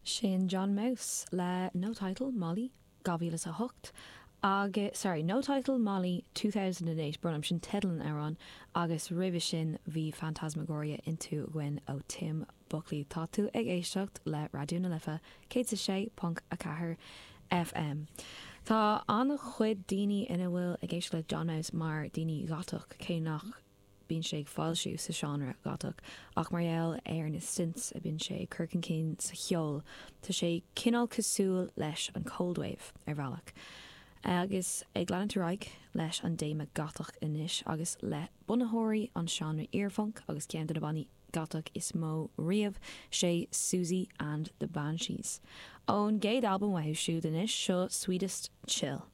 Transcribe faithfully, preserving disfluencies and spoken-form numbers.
Sin John Maus le No Title Molly dhá mhíle a hocht agus sorry No Title Molly two thousand and eight brón orm sin teideal an amhráin agus roimhe sin bhí Phantasmagoria Into againn ó Tim Buckley. Tá tú ag éisteacht le Raidió na Life céad is a sé ponc a ceathair FM. Tá an-chuid daoine ina bhfuil ag éisteacht le John Maus mar daoine gotach cé nach bíonn sé ag foilsiú sa seánra gotach ach mar gheall ar na synths a bíonn sé ag cur chun cinn sa cheol tá sé cineál cosúil leis an cold wave ar bhealach. Agus ag leanúint ar aghaidh leis an dtéama gotach anois agus le bunaitheoirí an seánra earphunk agus ceann de na bannaí gotach is mó riamh sé Siouxsie and the Banshees. Ón gcéad albam uathu siúd anois seo Sweetest Chill.